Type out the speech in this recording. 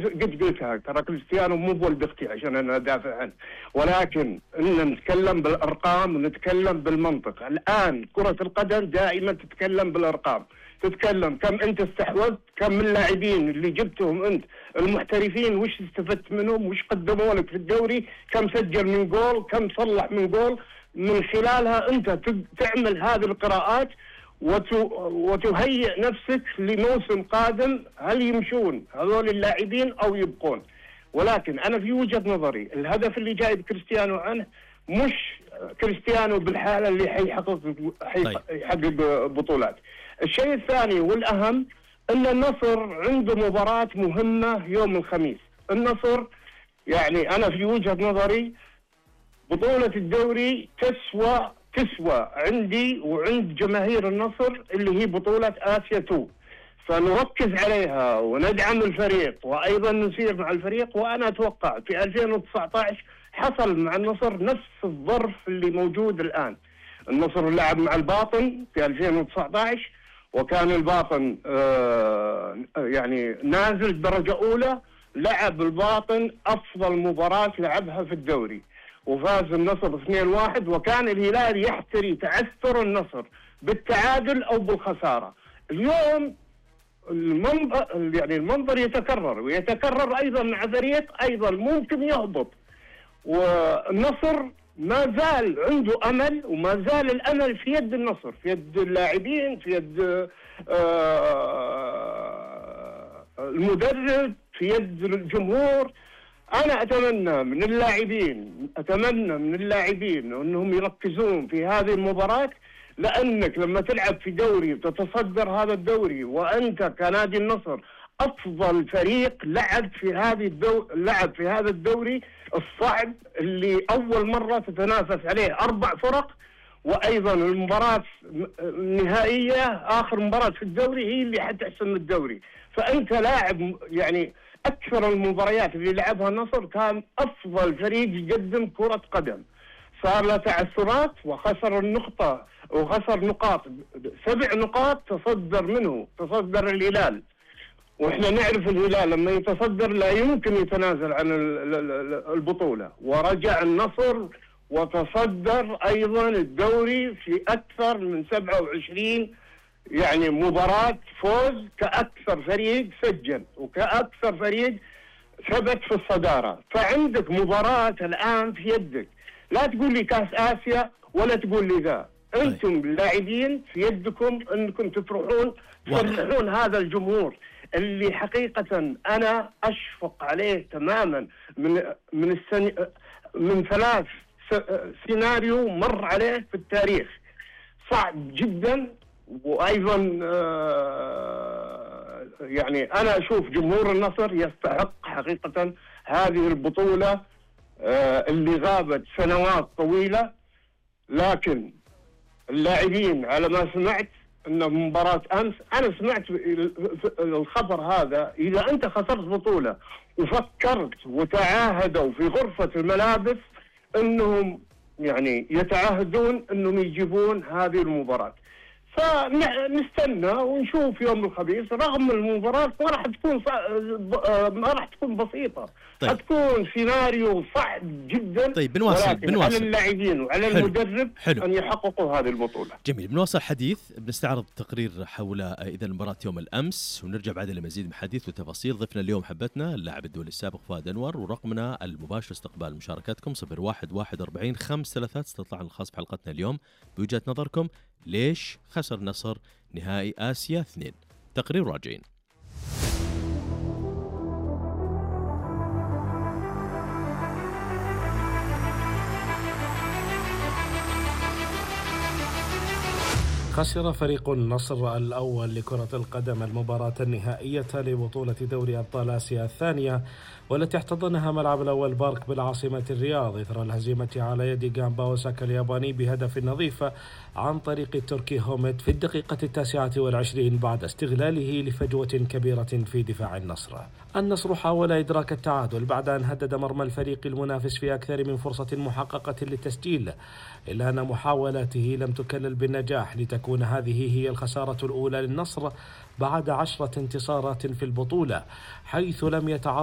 قد قلتها، ترى كريستيانو مو بولد اختي عشان انا ادافع عنه، ولكن ان نتكلم بالارقام ونتكلم بالمنطق. الان كرة القدم دائما تتكلم بالارقام، تتكلم كم انت استحوذت، كم من اللاعبين اللي جبتهم انت المحترفين وش استفدت منهم، وش قدموا لك في الدوري، كم سجل من جول، كم صلح من جول. من خلالها انت تعمل هذه القراءات وتهيئ نفسك لموسم قادم، هل يمشون هذول اللاعبين او يبقون. ولكن انا في وجهة نظري الهدف اللي جايب كريستيانو عنه مش كريستيانو بالحالة اللي حيحقق بطولات. الشيء الثاني والأهم أن النصر عنده مباراة مهمة يوم الخميس. النصر يعني أنا في وجهة نظري بطولة الدوري تسوى عندي وعند جماهير النصر اللي هي بطولة آسيا 2، فنركز عليها وندعم الفريق وأيضا نسير مع الفريق. وأنا أتوقع في 2019 حصل مع النصر نفس الظرف اللي موجود الآن. النصر لعب مع الباطن في 2019 وكان الباطن يعني نازل درجة أولى، لعب الباطن أفضل مباراة لعبها في الدوري وفاز النصر 2-1، وكان الهلال يحتري تعثر النصر بالتعادل أو بالخسارة. اليوم المنظر يتكرر، ويتكرر أيضا مع فريق أيضا ممكن يهبط، والنصر ما زال عنده أمل، وما زال الأمل في يد النصر، في يد اللاعبين، في يد المدرب، في يد الجمهور. أنا أتمنى من اللاعبين أنهم يركزون في هذه المباراة، لأنك لما تلعب في دوري وتتصدر هذا الدوري وأنت كنادي النصر أفضل فريق لعب في هذا الدوري الصعب اللي أول مرة تتنافس عليه 4 فرق، وأيضا المباراة النهائية آخر مباراة في الدوري هي اللي حتحسم الدوري. فأنت لاعب يعني أكثر المباريات اللي لعبها النصر كان أفضل فريق يقدم كرة قدم، صار له تعثرات وخسر نقاط 7 نقاط تصدر الهلال، واحنا نعرف الهلال لما يتصدر لا يمكن يتنازل عن البطولة، ورجع النصر وتصدر ايضا الدوري في اكثر من 27 يعني مباراة فوز، كأكثر فريق سجل وكأكثر فريق ثبت في الصدارة. فعندك مباراة الآن في يدك، لا تقول لي كاس آسيا ولا تقول لي ذا، أنتم اللاعبين في يدكم أنكم تفرحون هذا الجمهور اللي حقيقة أنا أشفق عليه تماما من 3 سيناريو مر عليه في التاريخ، صعب جدا. وأيضا يعني أنا أشوف جمهور النصر يستحق حقيقة هذه البطولة اللي غابت سنوات طويلة. لكن اللاعبين على ما سمعت أن مباراة أمس، أنا سمعت الخبر هذا، إذا أنت خسرت بطولة وفكرت وتعاهدوا في غرفة الملابس أنهم يعني يتعاهدون أنهم يجيبون هذه المباراة، فنستنى ونشوف يوم الخميس. رغم المباراة ما راح تكون بسيطة، حتكون سيناريو صعب جدا. طيب بنواصل على اللاعبين وعلى المدرب أن يحققوا هذه البطولة. جميل، بنواصل حديث، بنستعرض تقرير حول إذا المباراة يوم الأمس، ونرجع بعد لمزيد من حديث وتفاصيل. ضيفنا اليوم حبتنا اللاعب الدولي السابق فؤاد أنور، ورقمنا المباشر استقبال مشاركاتكم 0141 استطلاع الخاص بحلقتنا اليوم بوجهة نظركم ليش خسر النصر نهائي آسيا 2. تقرير راجعين. خسر فريق النصر الأول لكرة القدم المباراة النهائية لبطولة دوري أبطال آسيا الثانية، والتي احتضنها ملعب الأول بارك بالعاصمة الرياض إثر الهزيمة على يد جامبا أوساكا الياباني بهدف نظيف عن طريق التركي هوميد في الدقيقة 29 بعد استغلاله لفجوة كبيرة في دفاع النصر. النصر حاول إدراك التعادل بعد أن هدد مرمى الفريق المنافس في أكثر من فرصة محققة للتسجيل، إلا أن محاولاته لم تكلل بالنجاح، لتكون هذه هي الخسارة الأولى للنصر بعد 10 انتصارات في البطولة، حيث لم يتعرض